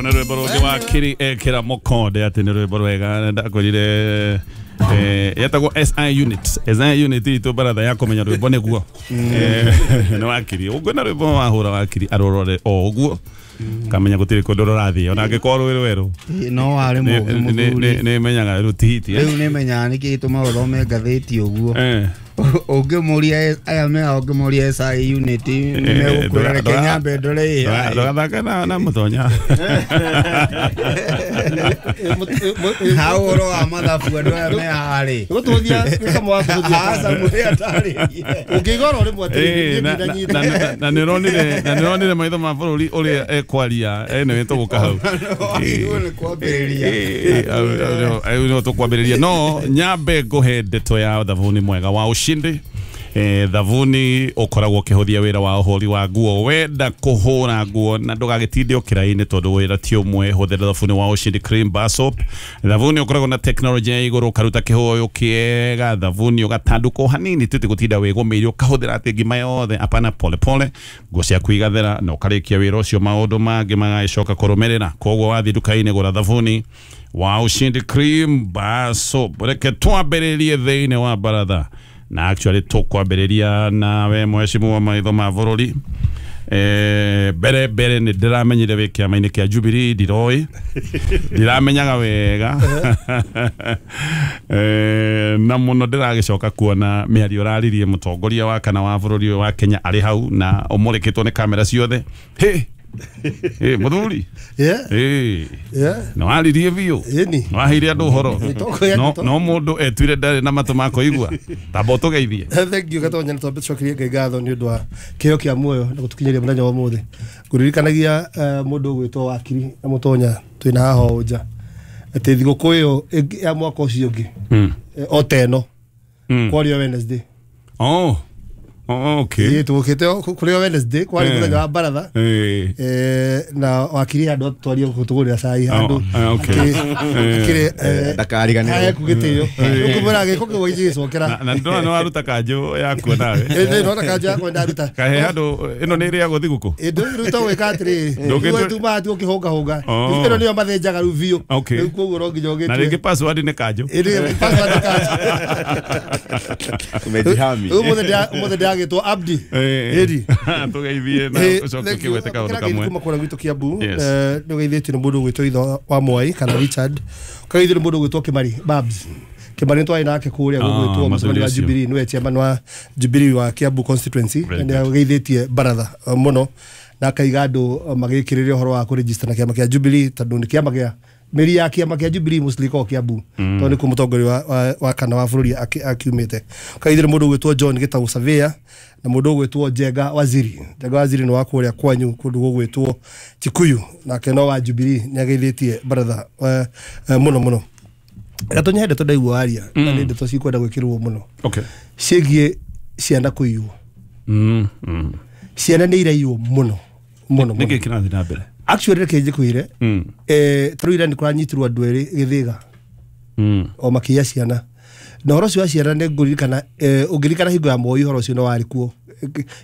Nä rwä mbo rå ngä wa kiri ekĩra mũkonde atĩ nĩ rwĩmbo rwega ndakorire yetagwo SI unit. SI unit itũ baratha ya kũmenya rwĩmbo nĩguo nĩ wakiri ũngĩona rwĩmbo wahũra wakiri arũrore o ũguo kamenya gũtirĩ kũndũ rũrathiĩ ona angĩkorwo rwĩ rwerũ. No warĩ mũũgĩ mũthuri. Nĩ menyaga rũtihiti. Rĩu nĩ menyaga nĩkĩ gĩtũmaga ũthome ngathĩti ũguo. Ũngĩmũria aya mea ũngĩmũria SI unit nĩmegũkwĩra reke nyambe ndore AI. Ndũgathake na mũtonya. Ha ũhoro wa mathabu andũ aya me haha rĩ. Gũtũthia gĩkamo wa kũhũthia. Aca mwĩre atarĩrie. Ũngĩigua oro rĩmwe atĩrĩrĩ, niĩ ndinanyita. Na nĩ ũronire maitho ma bũrũri ũrĩa ekwaria nĩ tũgũka hau. Wagĩrĩirwo nĩ kwambĩrĩria. No tũkwambĩrĩria no nyambe ngũhe ndeto ya thabuni mwega wa ushindi. Thabuni ũkoragwo ũkĩhũthia wĩra wa ũhũri wa nguo. Wenda kũhũra nguo na ndũgagĩtinde ũkĩra-inĩ tondũ wĩra ti ũmwe, hũthĩra thabuni wa Ushindi Cream Bar Soap. Thabuni ũkoragwo na tekinoronjĩ ya igũrũ, ũkaruta kĩhũyũ kĩega, thabuni ũgatandũka o hanini tũti gũtinda wĩgũmĩire ũkahũthĩra atĩ ngima yothe, apana, pole pole nguo ciaku igathera na ũkarĩkia wĩra ũcio, maũndũ mangĩ magagĩcoka kũrũmĩrĩra. Koguo wathiĩ nduka-inĩ gũra thabuni wa Ushindi Cream Bar Soap. Reke twambĩrĩrie thĩinĩ wa baratha na actually tũkwambĩrĩria nawe mheshimiwa maitho ma bũrũri. Mbere mbere nĩ ndĩramenyire wĩ kĩama-inĩ kĩa Jubilee, ndiroĩ ndiramenyaga wega na mũno ndĩragĩcoka kuona mĩario ũraririe mũtongoria wa kana wa bũrũri ũyũ wa Kenya arĩ hau na ũmũrĩkĩtwo nĩ kamera ciothe. Hĩ hĩ mũthuri. Nĩ waririe biũ. Ĩni. Nĩ waheire andũ ũhoro. Nĩ no mũndũ etuire ndarĩ na matũ ma kũigua, tamba ũtũgeithie. Thank you Gatonya, nĩ twambe tũcokerie Ngai ngatho nĩ ũndũ wa kĩheo kĩa muoyo na gũtũkinyĩria mũthenya wa ũmũthĩ. Ngũririkanagia mũndũ ũgwĩtwo Wakiri na Mũtonya twĩna haha o nja atĩ thigũkũ ĩyo ya mwaka ũcio ũngĩ o ta ĩno kwarĩ o Wednesday. Oh, okay. Ĩĩ, tũgũkĩte kũrĩ o Wednesday kwarĩ mũthenya wa baratha. Na Wakiri handũ atwarie gũtũgũrĩra cai handũ akĩrĩ Ndakariganĩrwo. Heku gĩtĩo ũkũmwĩra gĩko kĩu gĩgĩcokera. Na ndona nĩ waruta kanjũ yakuo nawe. Ĩĩ, nona kanjũ yakwa ndaruta. Kahe handũ ĩno nĩ ĩrĩagwo thigũkũ. Ĩndũ rĩu to gwĩka atĩrĩrĩ tumaga tu ũkĩhũngahũnga. Ĩno nĩyo mathĩnjaga rĩu biũ. Rĩu koguo no nginya Na ũgĩtue. Rĩngĩ password nĩ kanjũ. Ĩndĩ password nĩ kanjũ. Umejihami. Rĩu ũmũthĩ ndĩragĩtwo Abdi. Ĩri. Tũgeithie na ũcoke ũkĩgwete kaũndũ kamwe. Kuma kũrĩa gwitũ Kiambu nĩ ũgeithĩtio nĩ mũndũ ũgwĩtwo Itho wa Mwai kana Richard, ũkageithio nĩ mũndũ ũgwĩtwo Kĩmari Babs Kĩmari, nĩ twarĩ nake kũrĩa gũgwĩtwo mũcemanio wa ũcio. Jubilee, nĩwe chairman wa Jubilee wa Kiambu constituency. Very Nĩ ageithĩtie baratha mũno na akaiga andũ magĩkĩrĩre ũhoro wa kũregister na kĩama kĩa Jubilee tondũ nĩ kĩama kĩa mĩri ya kĩama kĩa Jubilee mostly ĩkoragwo Kiambu tondũ nĩkuo mũtongoria wa kana wa bũrũri akiumĩte. Ũkageithio nĩ mũndũ ũgwĩtwo John Gĩtaũ Surveyor na mũndũ ũgwĩtwo Njenga Waziri. Njenga Waziri nĩ wa kũrĩa kwanyu kũndũ gũgwĩtwo Kikuyu, nake no wa Jubilee, nĩ ageithĩtie baratha mũno mũno. Gatonya, he ndeto ndaigua waria na nĩ ndeto cikwenda gwĩkĩrwo mũno ciĩgiĩ ciana kũiywo. Ciana nĩ iraiywo mũno mũno Nĩkĩ mũno. kĩrathiĩ na mbere? Actually reke njĩkwĩre, tarĩu ira nĩ kũranyitirwo andũ erĩ Gĩthĩga o makĩiya ciana, na ũhoro ũcio wa ciana nĩ ngũririkana, ũngĩririkana hingo ya Moi ũhoro ũcio no warĩ kuo,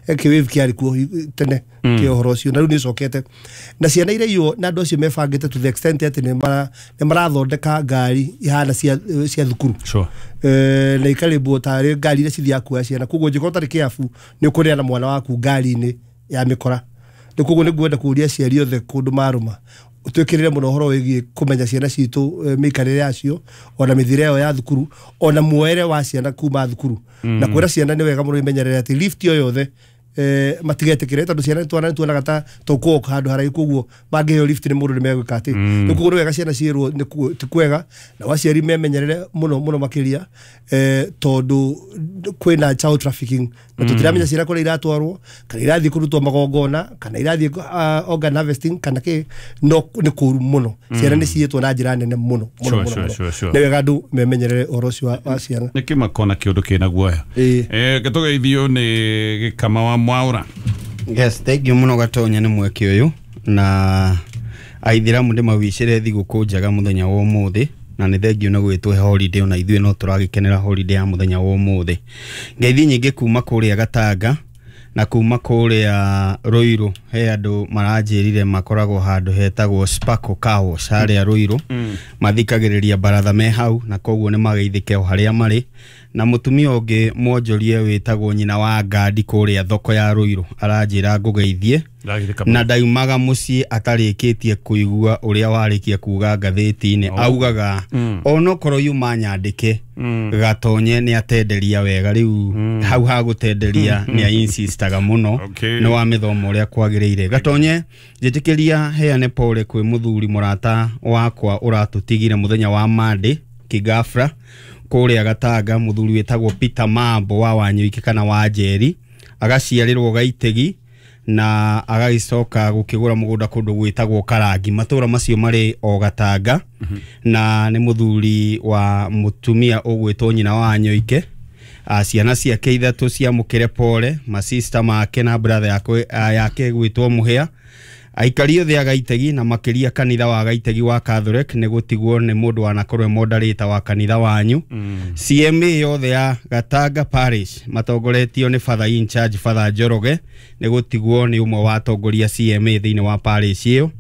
kĩwĩvu kĩarĩ kuo tene kĩa ũhoro ũcio, na rĩu nĩ ũcokete na ciana iraiywo na andũ acio mebangĩte to the extent atĩ nĩ marathondeka ngari ihana cia thukuru na ikarĩmbwo tarĩ ngari iria cithiaga kuoya ciana. Koguo ũngĩkorwo ũtarĩ kĩabu nĩ ũkũrĩa na mwana waku ngari-inĩ ya mĩkora. Nĩ koguo nĩ ngwenda kũria aciari othe kũndũ marũma twĩkĩrĩre mũno ũhoro wĩgiĩ kũmenya ciana citũ, mĩikarĩre yacio ona mĩthiĩre yao ya thukuru ona muoere wa ciana kuma thukuru, na kwĩra ciana nĩ wega mũno imenyerere atĩ lift o yothe matigetĩkĩre tondũ ciana twana nĩtuonaga ta tũkũoka handũ haraihu, koguo mangĩheo lift nĩ mũndũ nĩ megwĩka atĩ nĩ koguo nĩ wega ciana ciĩrwo ti kwega na aciari memenyerere mũno mũno makĩria, tondũ kwĩna child trafficking na tũtiramenya ciana kũrĩa iratwarwo, kana irathiĩ kũrutwo magongona kana irathiĩ organ harvesting kana kĩ, no nĩ kũru mũno, ciana nĩ ciĩtwo na njĩra nene mũno mũno mũno mũno. Nĩ wega andũ memenyerere ũhoro ũcio wa ciana. Nĩ kĩmako na kĩũndũ kĩna guoya. Gĩtũgeithio nĩ Gĩkama wa Mwaũra. Yes, thank you mũno Gatonya nĩ mweke ũyũ, na aithĩramu ndĩmawicĩre thigũkũ njega mũthenya wa ũmũthĩ, na nĩ thengiũ nĩ gwĩtwo holiday, ona ithuĩ no tũragĩkenera holiday ya mũthenya wa ũmũthĩ. Ngeithi nyingĩ kuma kũrĩa Gatanga Na kuma kũrĩa Ruiru he andũ maranjĩrire makoragwo handũ hetagwo Sparkle Car Wash harĩa Ruiru. Mathikagĩrĩria baratha me hau na koguo nĩ mageithĩke o harĩa marĩ. Na mũtumia ũngĩ mwonjorie wĩtagwo nyina wa Ngandi kũrĩa thoko ya Ruiru aranjĩra ngũgeithie na ndaumaga mũciĩ atarĩkĩtie kũigua ũrĩa warĩkia kuga ngathĩti-inĩ. Augaga onokorwo yuma nyandĩke Gatonye nĩ atenderia wega rĩu hau ha gũtenderia nĩ ainsistaga mũno nĩ wa mĩthomo ũrĩa kwagĩrĩire. Gatonye njĩtĩkĩria heane pole kwĩ mũthuri mũrata wakwa ũratũtigire mũthenya wa Monday kigafra kũrĩa Gatanga, mũthuri wĩtagwo Peter Mambo wa Wanyuike kana wa Njeri, agaciarĩrwo Gaitegi na agagĩcoka gũkĩgũra mũgũnda kũndũ gwĩtagwo Karangi, matũra macio marĩ o Gatanga. Na nĩ mũthuri wa mũtumia ũgwĩtwo nyina wa Nyoike. Ciana ciake ithatũ ciamũkĩre pole, masista make na brother yake gwĩtwo Mũhĩa. Aikari othe a Gaitegi na makĩria kanitha wa Gaitegi wa Catholic nĩ gũtigwo nĩ mũndũ wanakorwo moderator wa kanitha wanyu. CMA yothe ya Gatanga Parish matongoretio nĩ Father in charge Father Njoroge nĩ gũtigwo nĩ ũmwe wa atongoria CMA thĩinĩ wa parish ĩyo.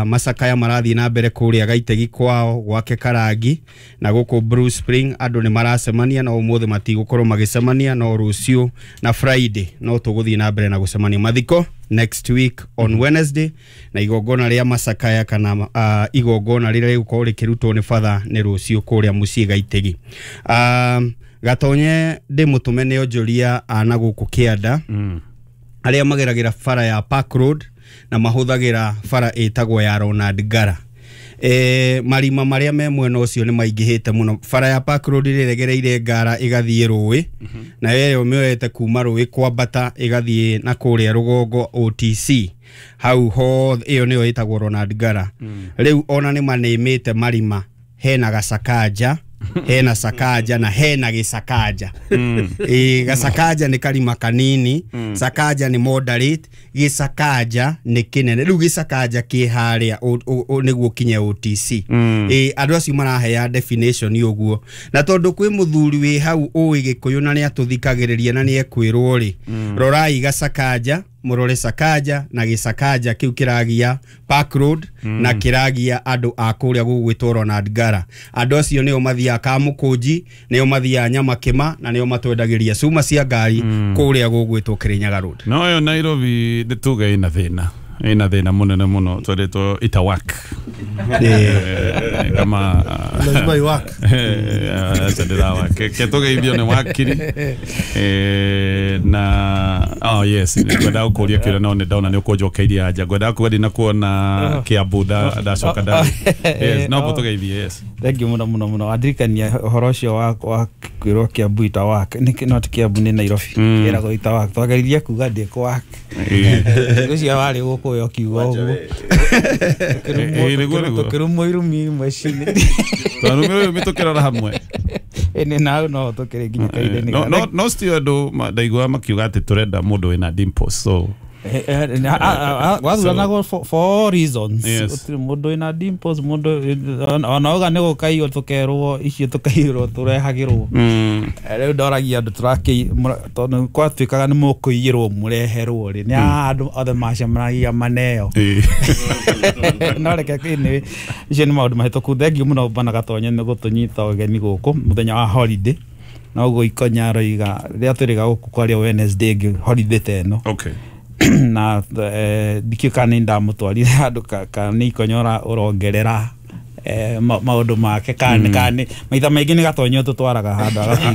Macakaya marathiĩ na mbere kũrĩa Gaitegi kwao gwake Karangi na gũkũ Blue Spring andũ nĩ maracemania na ũmũthĩ matigũkorwo magĩcemania no rũciũ na Friday no tũgũthiĩ na mbere na gũcemania. Mathiko next week on Wednesday na igongona rĩa macakaya kana igongona rĩrĩa rĩgũkorwo rĩkĩrutwo nĩ Father nĩ rũciũ kũrĩa mũciĩ Gaitegi. Gatonye ndĩ mũtũme nĩ onjoria ana gũkũ Kĩanda arĩa mageragĩra bara ya Park Road na mahũthagĩra bara ĩtagwo ya Ronald Ngara. Marima marĩa me mwena ũcio nĩ maingĩhĩte mũno. Bara ya Park Road ĩregereire Ngara ĩgathiĩ rũĩ na ĩyo mĩoete kuma rũĩ kwambata ĩgathiĩ na kũrĩa rũgongo OTC hau ho, ĩyo nĩyo ĩtagwo Ronald Ngara. Rĩu ona nĩ manĩmĩte marima, hena gacakanja hena sakaja na hena gĩcakanja. Gacakanja nĩ karima kanini, sakaja nĩ moderate, gĩcakanja nĩ kĩnene. Rĩu gĩcakanja kĩ harĩa nĩguo kinye OTC. Andũ acio marahea definition ũguo, na tondũ kwĩ mũthuri wĩ hau ũĩ Gĩkũyũ na nĩ atũthikagĩrĩria na nĩ ekwĩrwo rĩ, rorai gacakanja, mũrore sakaja na gĩcakanja kĩu kĩragia Park Road na kĩragia andũ a kũrĩa gũgwĩtwo Ronald Ngara. Andũ acio nĩo mathiaga Kamũkũnji, nĩo mathiaga Nyamakĩma na nĩo matwendagĩria cuma cia ngari kũrĩa gũgwĩtwo Kĩrĩnyaga Road. No yo Nairobi nĩ tuge ĩna thĩna, ĩna thĩna mũnene mũno twendetwo itawak kama lazima iwak acha ketũgeithio nĩ wakiri na oh yes ngwendaga gũkũria kĩũria no nĩ ndona nĩ ũkũnjokeirie anja, ngwendaga kuga ndinakuona Kiambu ndacoka nda yes no tũgeithie. Yes, thank you mũno mũno mũno. Andirikania ũhoro ũcio wa kwĩrwo Kiambu itawak nĩ not Kiambu nĩ Nairobi kĩragwo itawak, twageririe kuga ndĩkũwak ũcio warĩ gũkũ yo kiugo ũguo tũkĩrumwo irumi imwe cini twarumĩrwo irumi tũkĩrora hamwe ĩnĩ nau no tũkĩrĩ nginya kahinda-inĩ. No still andũ ndaiguaga makiuga atĩ tũrenda mũndũ wĩna dimples so gwathuranagwo for reasons. Gũtirĩ mũndũ wĩna dimples, mũndũ ona auga nĩ gũkaiywo tũkerwo icio tũkaiyĩrwo tũrehagĩrwo. Rĩu ndoragia andũ tondũ kwatuĩkaga nĩ mũkũiyĩrwo mũreherwo rĩ, nĩ andũ othe macemanagia maneo. No reke anyway, icio nĩ maũndũ mahĩtũku. Thengiũ mũno Bwana Gatonye nĩ gũtũnyita ũgeni gũkũ mũthenya wa holiday. Na ũguo Ikonya aroiga rĩrĩa twĩrĩga gũkũ kwaria Wednesday ĩngĩ holiday ta ĩno. Okay. Na ndikĩũĩ kana nĩ ndamũtwarire handũ kana nĩ Ikonya ũrongerera maũndũ make kana maitha maingĩ nĩ Gatonye ũtũtwaraga handũ agatuĩka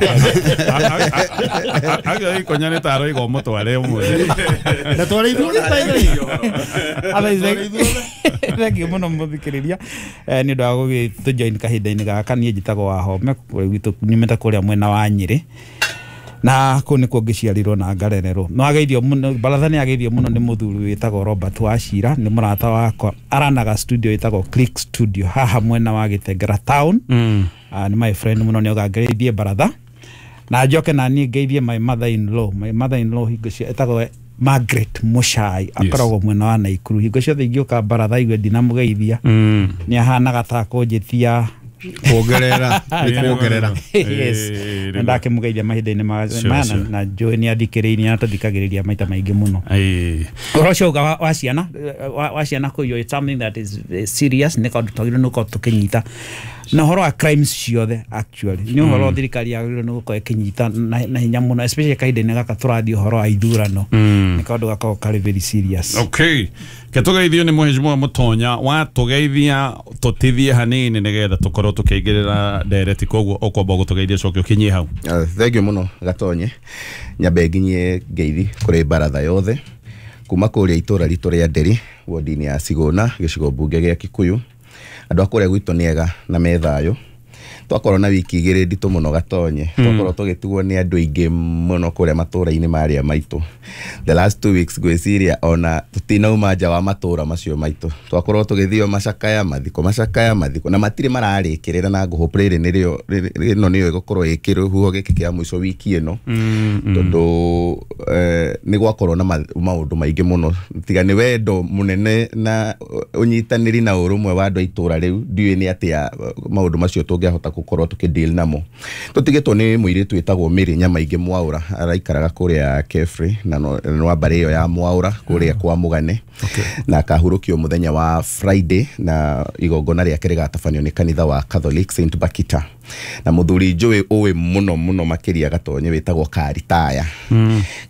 agĩo Ikonya nĩ ta aroiga ũmũtware ũmũthĩ. Ndatwara ithuothe. Thengiũ mũno mũthikĩrĩria nĩ ũndũ wa gũgĩtũjoin kahinda-inĩ gaka. Niĩ njĩtagwo Wahome gwitũ nyumĩte kũrĩa mwena wa Nyĩrĩ na kũu nĩkuo ngĩciarirwo na ngarererwo. No ageithio mũno baratha nĩ ageithio mũno nĩ mũthuri wĩtagwo Robert Wachira, nĩ mũrata wakwa, aranaga studio ĩtagwo Click Studio haha mwena wa Gĩtengera town. Nĩ my friend mũno, nĩ oga ngeithie baratha na njoke na niĩ ngeithie my mother in law. My mother in law hingo cia ĩtagwo Margaret Muchai, akoragwo mwena wa Naikuru. Hingo ciothe ingĩũka baratha igue ndinamũgeithia nĩ ahanaga ta kũnjĩtia Kuongerera nĩ kuongerera. Yes, na ndakĩmũgeithia mahinda-inĩ maya na njũĩ nĩ athikĩrĩirie na tũthikagĩrĩria maita maingĩ mũno. Ũhoro ũcio uga wa ciana wa ciana kũiywo, it's something that is serious, nĩ kaũndũ twagĩrĩirwo nĩ gũkorwo tũkĩnyita. Na ũhoro wa crimes ciothe actually nĩ ũhoro thirikari yagĩrĩirwo nĩ gũkorwo ĩkĩnyita na hinya mũno, especially kahinda-inĩ gaka tũrathiĩ ũhoro wa ithurano, nĩ kaũndũ gakoragwo karĩ very serious. Okay, ketũgeithio nĩ mũhĩcimwa Mũtonya watũgeithia tũtithie hanini nĩgetha tũkorwo tũkĩingĩrĩra ndereti, koguo ũkwamba gũtũgeithia coke ũkinyie hau. Thank you mũno Gatonye. Nyambe nginyie ngeithi kũrĩ baratha yothe kuma kũrĩa itũra ritũ rĩa Nderi, wodi-inĩ ya Cigũna, gĩcigo mbunge gĩa Kikuyu. Andũ a kũrĩa gwitũ nĩ ega na me thayũ. Twakorwo na wiki igĩrĩ nditũ mũno Gatonye, twakorwo tũgĩtigwo nĩ andũ aingĩ mũno kũrĩa matũra-inĩ marĩa maitũ. The last 2 weeks ngwĩciria ona tũtinauma nja wa matũra macio maitũ, twakorwo tũgĩthio macakaya mathiko, macakaya mathiko, na matirĩ mararĩkĩrĩra, na ngũhope rĩrĩ nĩrĩo ĩno nĩyo ĩgũkorwo ĩ kĩrũhuho gĩkĩ kĩa mũico wiki ĩno, tondũ nĩ gwakorwo na maũndũ maingĩ mũno, tiga nĩ wendo mũnene na ũnyitanĩri na ũrũmwe wa andũ a itũra rĩu, ndiũĩ nĩ atĩa maũndũ macio tũngĩahota gũkorwo tũkĩ-deal namo. Tũtigĩtwo nĩ mũirĩtu wĩtagwo Mary Nyamaingĩ Mwaũra, araikaraga kũrĩa Kefri na nĩ wa mbarĩ ĩyo ya Mwaũra kũrĩa kwa Mũgane, na akahurũkio mũthenya wa Friday, na igongona rĩake rĩgatabanio nĩ kanitha wa Catholic St Bakita. Na mũthuri njũĩ ũĩ mũno mũno makĩria Gatonye wĩtagwo Karitaya.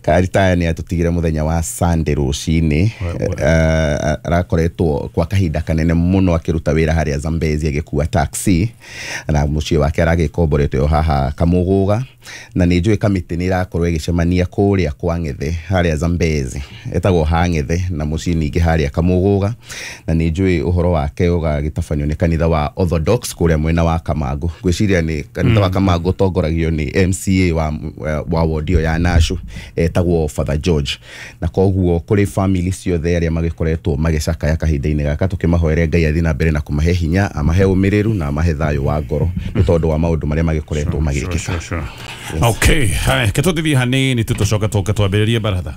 Karitaya nĩ atũtigire mũthenya wa Sunday rũcinĩ. Arakoretwo kwa kahinda kanene mũno akĩruta wĩra harĩa Zambezi agĩkua taxi, na mũciĩ wake aragĩkomborete o haha Kamũgũga, na nĩ njũĩ kamĩtĩ nĩ ĩrakorwo ĩgĩcemania kũrĩa kwa Ng'ethe harĩa Zambezi, etagwo ha Ng'ethe, na mũciĩ ningĩ harĩa Kamũgũga, na nĩ njũĩ ũhoro wake ũgagĩtabanio nĩ kanitha wa Orthodox kũrĩa mwena wa Kamangũ. Ngwĩciria nĩ kanitha wa Kamangũ ũtongoragio nĩ MCA wa ward ĩyo ya Nashu, etagwo Father George. Na koguo kũrĩ family ciothe arĩa magĩkoretwo magĩcakaya kahinda-inĩ gaka, tũkĩmahoere Ngai athiĩ na mbere na kũmahe hinya, amahe ũmĩrĩru na amahe thayũ wa ngoro nĩ tondũ wa maũndũ marĩa magĩkoretwo magĩkĩka. Okay, haya ketũtithie hanini tu tũcoke tũke twambĩrĩrie baratha.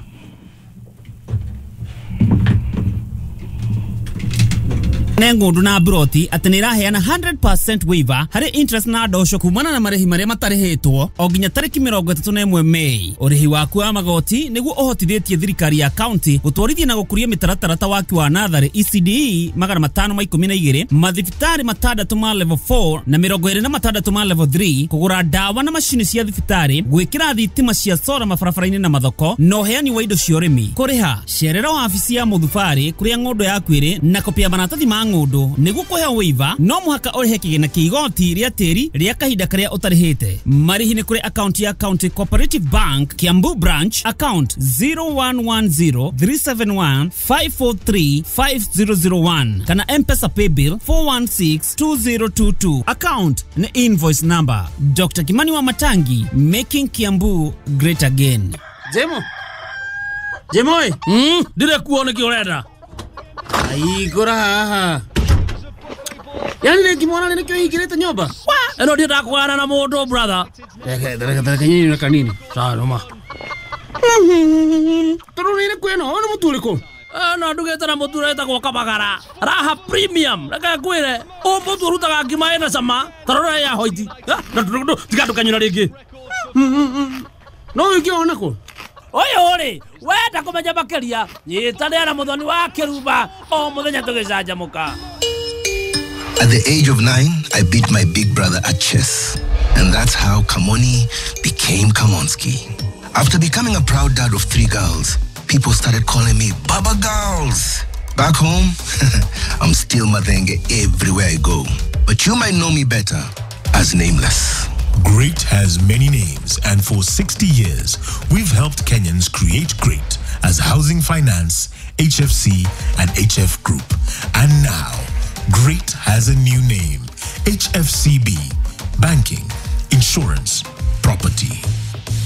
Ne ng'ũndũ na broti atĩ nĩ ĩraheana 100% waiver harĩ interest na ndosho kumana na marĩhi marĩa matarĩhĩtwo o nginya tarĩki 31 Mei. Ũrĩhi waku wa magoti nĩguo ũhotithĩtie thirikari ya county gũtwarithia na gũkũria mĩtaratara ta waki wa natharĩ ECDE 512, mathibitarĩ 6 ma level 4 na 26 ma level 3, kũgũra ndawa na macini cia thibitarĩ, gwĩkĩra thitima cia sora mabarabara-inĩ na mathoko, na ũheani wa indo cia ũrĩmi. Kũrĩha cerera wabici ya mũthubarĩ kũrĩa ng'ũndũ yaku ĩrĩ na kopi ya maratathi ma ng'ũndũ. Nĩguo kũheo waiver no mũhaka ũrĩhe kĩgĩna kĩa igoti rĩa tĩri rĩa kahinda karĩa ũtarĩhĩte. Marĩhi nĩ kũrĩ akaunti ya County Cooperative Bank Kiambu Branch, account 01103715435001 kana M-Pesa paybill 4162022, account ni invoice number. Dr. Kimani wa Matangi, making Kiambu great again. Jemo Jemoi, ndire kuo nĩkĩ ũrenda? Aigũra haha. Yani nĩngĩmwona nĩkĩo hingĩrĩte nyũmba? Ĩno ndiendaga kũgayana na mũndũ brother. Reke nyinyi kanini. Sawa noma. Tondũ nĩ ĩrĩkũ ĩno? Ũyũ nĩ mũtu ũrĩkũ? No ndugĩte na mũtu ũretagwo Kabagara. Raha Premium. Reke ngwĩre, ũyũ mũtu ũrutaga ngima ĩna cama, ta rora ya hoiti. Tiga ndũkanyũra rĩngĩ. No ũngĩona kũ? Ũyũ rĩ, wenda kũmenya makĩria, nyitanĩra na Mũthoni wa Kĩrumba o mũthenya tũgĩcanjamũka. At the age of 9, I beat my big brother at chess. And that's how Kamoni became Kamonski. After becoming a proud dad of 3 girls, people started calling me Baba Girls. Back home, I'm still Mathenge everywhere I go. But you might know me better as Nameless. Great has many names, and for 60 years, we've helped Kenyans create great as Housing Finance, HFC, and HF Group. And now, Great has a new name, HFCB, Banking, Insurance, Property.